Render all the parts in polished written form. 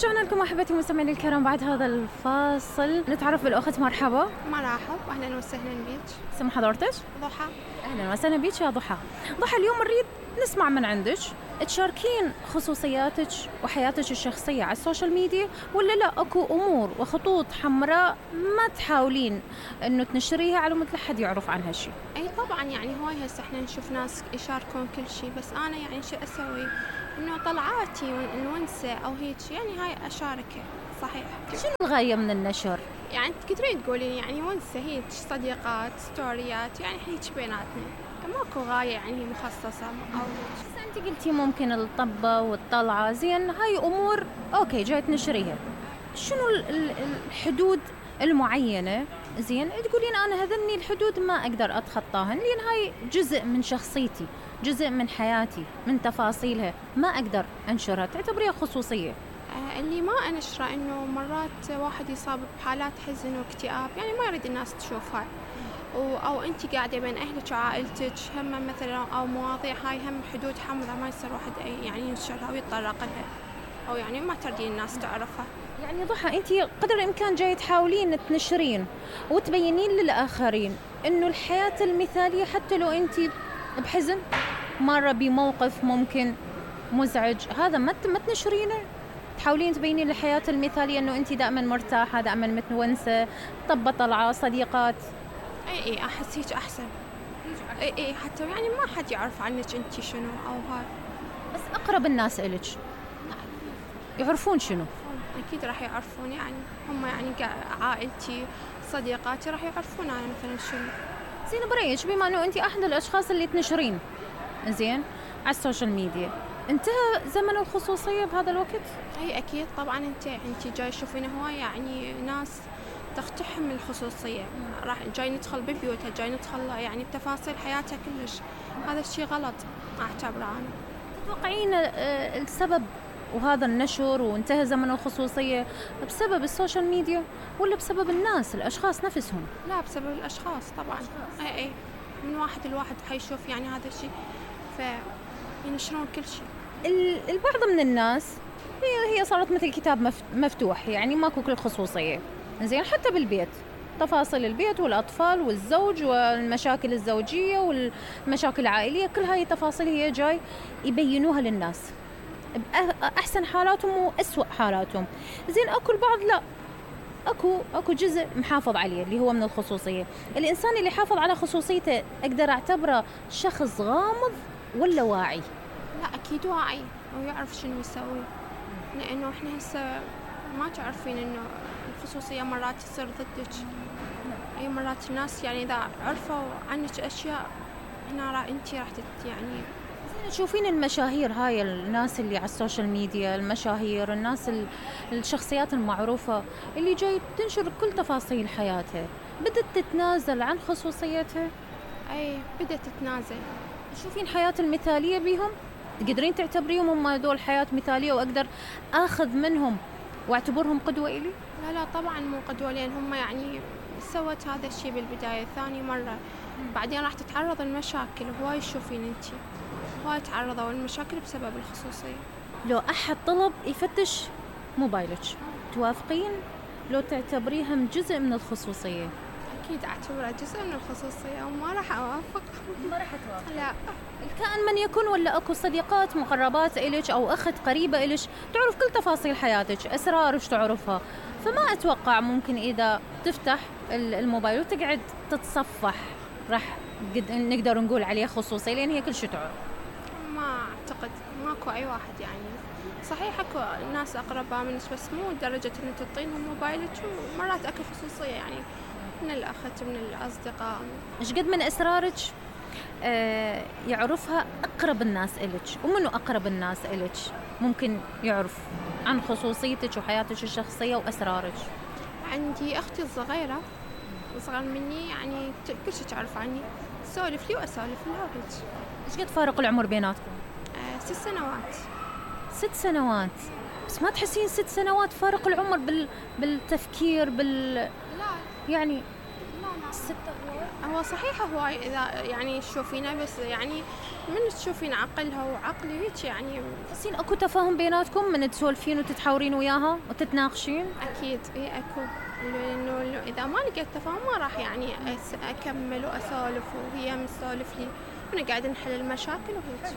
رجعنا لكم أحبتي المستمعين الكرام بعد هذا الفاصل. نتعرف بالأخت. مرحبا. مرحب، أهلا وسهلا بيك. اسم حضرتك؟ ضحى. أهلا وسهلا بيك يا ضحى. ضحى، اليوم نريد نسمع من عندك تشاركين خصوصياتك وحياتك الشخصية على السوشيال ميديا، ولا لا أكو أمور وخطوط حمراء ما تحاولين إنه تنشريها على مثل حد يعرف عنها شيء؟ أي طبعا، يعني هواي هسه احنا نشوف ناس يشاركون كل شيء، بس أنا يعني شو أسوي؟ إنه طلعاتي ونسة أو هيك يعني هاي أشاركها. صحيح. شنو الغاية من النشر؟ يعني تقدرين تقولين يعني ونسة هيك صديقات ستوريات، يعني هيك بيناتنا، ماكو غاية يعني مخصصة أو بس أنت قلتي ممكن الطبة والطلعة، زين هاي أمور أوكي جاي تنشريها، شنو الحدود المعينة زين تقولين أنا هذني الحدود ما أقدر أتخطاهن، لأن هاي جزء من شخصيتي، جزء من حياتي، من تفاصيلها، ما أقدر أنشرها، تعتبريها خصوصية؟ اللي ما أنشره إنه مرات واحد يصاب بحالات حزن واكتئاب، يعني ما يريد الناس تشوفها، أو أنت قاعدة بين أهلك وعائلتك هم مثلا، أو مواضيع هاي هم حدود حمراء ما يصير واحد يعني ينشرها ويتطرق لها، أو يعني ما تريدين الناس تعرفها. يعني ضحى، أنت قدر الإمكان جاي تحاولين تنشرين وتبينين للآخرين إنه الحياة المثالية، حتى لو أنت بحزن مرة بموقف ممكن مزعج، هذا ما تنشرينه، تحاولين تبينين الحياة المثالية إنه أنت دائما مرتاحة، دائما متونسة، طبة طلعة، صديقات. اي أحس هيك أحسن. اي حتى يعني ما حد يعرف عنك أنت شنو أو هاي. بس أقرب الناس إلك يعرفون شنو؟ أكيد راح يعرفون، يعني هم يعني عائلتي صديقاتي راح يعرفون أنا مثلا شنو. زين برأيك بما إنه أنت أحد الأشخاص اللي تنشرين زين على السوشيال ميديا، انتهى زمن الخصوصية بهذا الوقت؟ أي أكيد طبعا. أنت جاي تشوفين هواي يعني ناس تقتحم الخصوصية، راح جاي ندخل ببيوتها، جاي ندخل يعني بتفاصيل حياتها كلش، هذا الشيء غلط أعتبره أنا. تتوقعين السبب وهذا النشر وانتهى زمن الخصوصية بسبب السوشيال ميديا ولا بسبب الناس الأشخاص نفسهم؟ لا، بسبب الأشخاص طبعا. أي من واحد الواحد حيشوف يعني هذا الشيء فينشرون كل شيء. البعض من الناس هي صارت مثل كتاب مفتوح، يعني ماكو كل خصوصية زين، حتى بالبيت تفاصيل البيت والأطفال والزوج والمشاكل الزوجية والمشاكل العائلية، كل هاي التفاصيل هي جاي يبينوها للناس بأحسن حالاتهم وأسوأ حالاتهم. زين أكو البعض لا، أكو جزء محافظ عليه اللي هو من الخصوصية. الإنسان اللي حافظ على خصوصيته أقدر أعتبره شخص غامض ولا واعي؟ لا أكيد واعي ويعرف شنو يسوي، لأنه إحنا هسه ما تعرفين إنه الخصوصية مرات تصير ضدك. أي مرات الناس يعني إذا عرفوا عنك أشياء هنا أنتي راح يعني. تشوفين المشاهير هاي الناس اللي على السوشيال ميديا، المشاهير، الناس الشخصيات المعروفة اللي جاي تنشر كل تفاصيل حياتها، بدت تتنازل عن خصوصيتها؟ أي بدت تتنازل. تشوفين حياة المثالية بيهم؟ تقدرين تعتبريهم هم دول حياة مثالية وأقدر أخذ منهم واعتبرهم قدوة إلي؟ لا طبعا مو قدوة، لأن هم يعني سوت هذا الشيء بالبداية، ثاني مرة بعدين راح تتعرض المشاكل. هواي تشوفين انتي هواي تعرضوا المشاكل بسبب الخصوصية. لو أحد طلب يفتش موبايلك توافقين لو تعتبريها جزء من الخصوصية؟ أكيد أعتبرها جزء من الخصوصية وما راح أوافق. ما راح توافق؟ لا. الكائن من يكون، ولا أكو صديقات مقربات إلك أو أخت قريبة إلك تعرف كل تفاصيل حياتك، أسرارك تعرفها، فما أتوقع ممكن إذا تفتح الموبايل وتقعد تتصفح راح نقدر نقول عليه خصوصية، لأن هي كل شيء تعرف. ما أعتقد، ماكو أي واحد يعني. صحيح أكو ناس أقرباء منك بس مو لدرجة إن تعطينهم موبايلك، ومرات أكو خصوصية يعني من الأخت من الأصدقاء. إيش قد من أسرارك يعرفها أقرب الناس إلك؟ ومنو أقرب الناس إلك ممكن يعرف عن خصوصيتك وحياتك الشخصية وأسرارك؟ عندي أختي الصغيرة أصغر مني، يعني كل شيء تعرف عني، تسولف لي وأسولف لها وهيك. إيش قد فارق العمر بيناتكم؟ 6 سنوات. 6 سنوات؟ بس ما تحسين 6 سنوات فارق العمر بالتفكير لا يعني؟ لا 6 هو صحيح هواي إذا يعني تشوفينه، بس يعني من تشوفين عقلها وعقلي هيك يعني. تحسين اكو تفاهم بيناتكم من تسولفين وتتحاورين وياها وتتناقشين؟ أكيد إيه أكو، لأنه إذا ما لقيت تفاهم ما راح يعني أكمل وأسولف وهي تسولف لي ونقعد نحل المشاكل وهيك.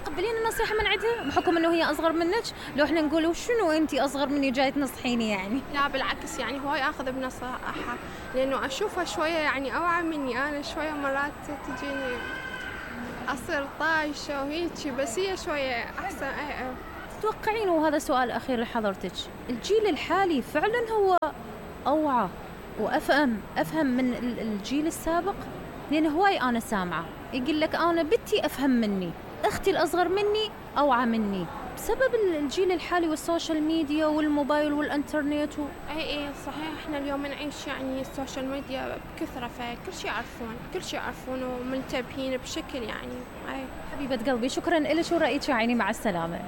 تقبلين النصيحة من عندها بحكم انه هي اصغر منك؟ لو احنا نقول وشنو انتي اصغر مني جاي تنصحيني يعني؟ لا بالعكس، يعني هواي اخذ بنصائحها لانه اشوفها شويه يعني اوعى مني. انا شويه مرات تجيني اصير طايشه وهيجي، بس هي شويه احسن. تتوقعين، وهذا سؤال اخير لحضرتك، الجيل الحالي فعلا هو اوعى وافهم من الجيل السابق؟ لان هواي انا سامعه يقول لك انا بنتي افهم مني، اختي الاصغر مني اوعى مني، بسبب الجيل الحالي والسوشيال ميديا والموبايل والانترنت اي صحيح. احنا اليوم نعيش يعني السوشيال ميديا بكثره، فكل شيء يعرفون ومنتبهين بشكل يعني. حبيبه قلبي، شكرا لك ورأيك يا عيني، مع السلامه.